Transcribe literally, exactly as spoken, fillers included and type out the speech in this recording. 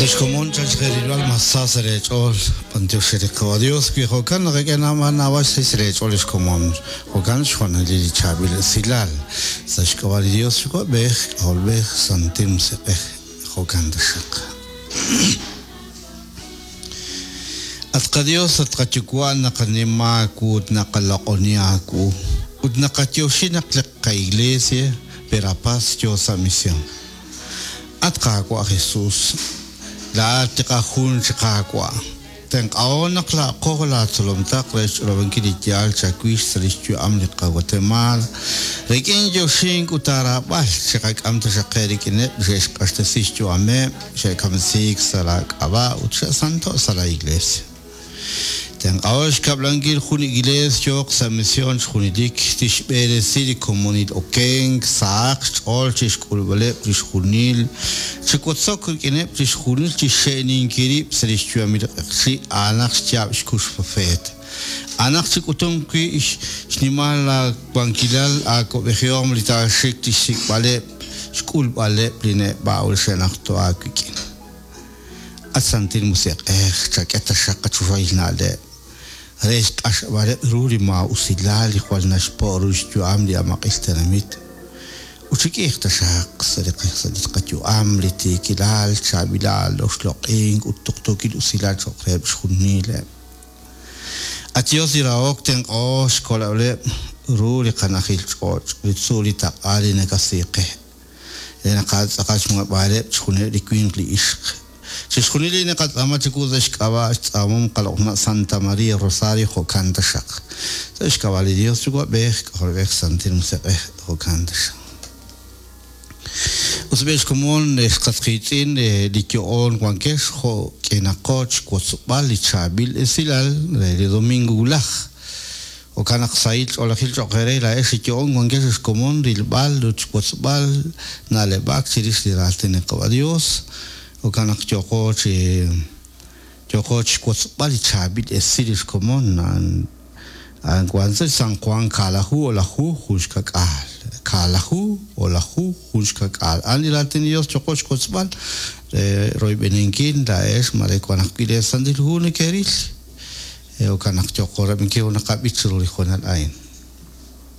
Ex komon chan xerilb'al mas sa sa' leech'ool b'antiox re li Qawa' Dios wi jo'kan naqak'e naab'al naab'al xsahil sa' leech'ool ex komon jo'kan xjoonalil li chaab'il esilal sa' xk'ab'a' li Dios Yuwa'b'ej K'ajolb'ej Santil Musiq'ej jo'kan taxaq. At qaDios at qaYuwa' naqanima aawu ut naqaloq'oni aawu ut naqayoxi naq li qaIglesia Verapaz yo sa' misión. At Qaawa' Jesús, laa'at li qajun chi Qaawa'. Tenq'aho naq laa'qo laatzolomtaq re xch'olob'ankil li yaal chawix sa' li xyu'am li qaGuatemala. Rik'in yoxink ut aaraab'al chiqak'am taxaq qe rik'ineb' li xe'xq'axtesi xyu'ameb', xe'kamsiik sa' laak'ab'a' ut xe'santo' sa' la Iglesia. Tenq'aho xkab'lankil jun iglees yooq sa' misión xjunelik tixb'eresi li komonil okenk sahaq xch'ool chixk'ulb'aleb' chixjunil chiwotzok rik'ineb' chixjunil chixxe'ninkil rib' sa' li xyu'amil q'eqchi' a'anaq xyaab' xkux profeet. A'anaq chik'utum wi' xnimal laawankilal aawab'ejihom li taaxik chixsik'b'aleb' xk'ulb'aleb' li neb'a' ut xe'najto' aawik'in. At Santil Musiq'ej chak'e taxaq qachoxahil na'leb' re xq'axb'aleb' ru li maa'usilal li jwal naxpo' ru xyu'am li amaq'il tenamit ut chik'iij taxaq sa' li sa' li qayu'am li tiikilal chaab'ilal oxloq'ink ut tuqtuukil usilal cho'q reheb' xjunileb'. At Dios li rahok tenq'o xkoleb'leb' ru li qanajil ch'och' li tzuul li taq'a li nakasiiqe re naqatz'aqal xmuheb'aaleb' chixjunileb' li winq li ixq. Chixjunil li naqatz'aama chiwu sa' xk'ab'a' xtz'aamom qaloq'na' Santa María Rosario jo'kan taxaq. Sa' xk'ab'a' li Dios Yuwa'b'ej K'ajolb'ej Santil Musiq'ej jo'kan taxaq. Us b'e xkomon ex qas qiitz'in li yo'oon wankex jo' k'inaqo xwotzb'al li chaab'il esilal re li domingo wulaj. Jo'kan naq sahil ch'oolejil cho'q eere laa'ex li yo'oon wankex xkomon rilb'al ut xwotzb'al na'leb'ak chirix li raatin li Qawa' Dios. Jo'kan naq yooqo chi yooqo chixwotzb'al li chaab'il esil li xkomon a'an wan sa' San Juan kaalaju olaju jun xkak'aal kaalaju olaju jun xkak'aal a'an li raatin li Dios yooqo xwotzb'al re royb'eninkil laa'ex mare wan ajwi' li Santil Hu neke'ril jo'kan naq yooqo rab'inkil naqab'ich chiru li hoonal a'in.